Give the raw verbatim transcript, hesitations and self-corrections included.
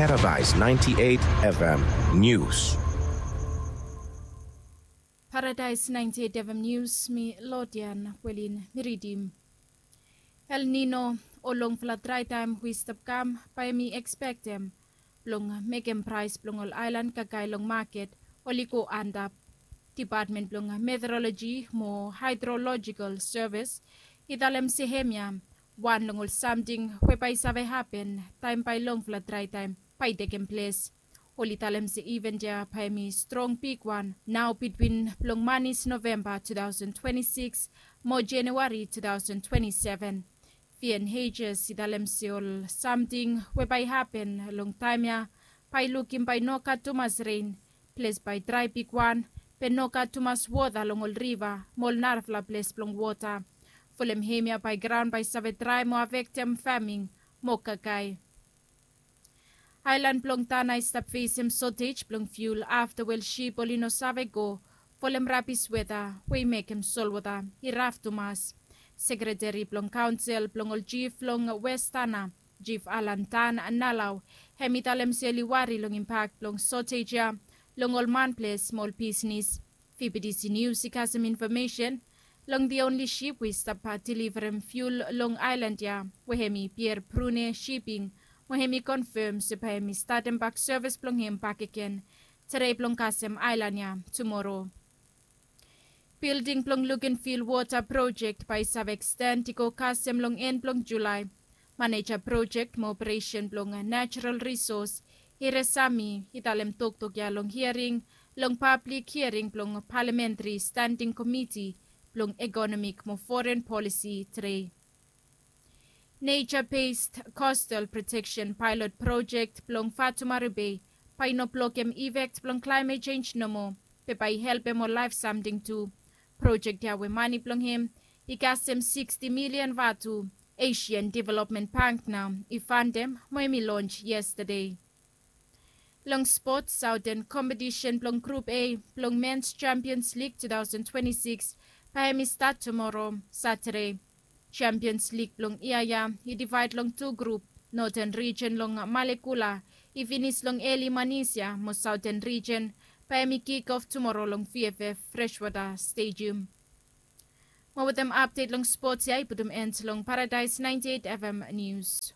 Paradise ninety-eight F M News. Paradise ninety-eight F M News, mi Lodian Welin mi ridim. El Nino o longfala draetaem we i stap kam bae mi ekspektem blong mekem praes blong ol aelan kakae long maket oli go antap. Depatmen blong Meteoroloji mo Haedrolojikal Sevis i talem se hemia wan long ol samting we bae i save hapen taem bae longfala draetaem bae i tekem ples. Oli talem se iven ya bae hemi strong bigwan nao bitwin blong manis Novemba two thousand twenty-six mo Januari two thousand twenty-seven. Vian Hejes i talem se ol samting we bae i hapen long taem ya bae i lukim bae i no gat tumas ren, ples bae i drae bigwan, be no gat tumas wota long ol riva mo ol narafala ples blong wota. Folem hemia bae graon bae i save drae mo afektem faming mo kakae. Aelan blong Tana i stap fesem sotej blong fiul afta we ol sip oli no save go folem rabis weta we i mekem solwota i raf tumas. Sekreteri blong kaonsel blong ol jif long Wes Tana, Jif Alan Tan Nalau, hem i talem se oli wari long impak blong sotej ya long ol manples mo ol bisnis. Fibidisi Nius i kasem infomesen long the only sip we i stap deliverem fiul long aelan ya, we hemi Pier Brune Shipping, mo hemi konfem se bae hemi statem bak sevis blong hem bakegen tede blong kasem aelan ya tumoro. Bilding blong Lukenville Wota Projek bae i save eksten i go kasem long en blong Julae. Maneja projek mo operesen blong Natural Risos, Hire Sami, i talem toktok ya long hiaring long pablik hiaring blong Palamentri Standing Komiti blong Ekonomik mo Foren Polisi tede. Nature-based coastal protection pilot project blong Fatumaru Bay bae i no blokem effect blong climate change nomo, be bae i helpem ol laef samting tu. Project ya we mane blong hem i kasem sixty million vatu, Asian Development Bank nao i fandem mo hem i launch yesterday. Long spot, Southern competition blong Group A blong Men's Champions League two thousand twenty-six bae hem i stat tumoro, Saturday. Champions League blong yia ya i divaed long tu grup. Northern Region long Malekula i finis long eli manis ya, mo Southern Region bae hem i kick off tumoro long V F F Freshwater Stadium. Mo wetem update long sports ya i putum end long Paradise ninety-eight F M News.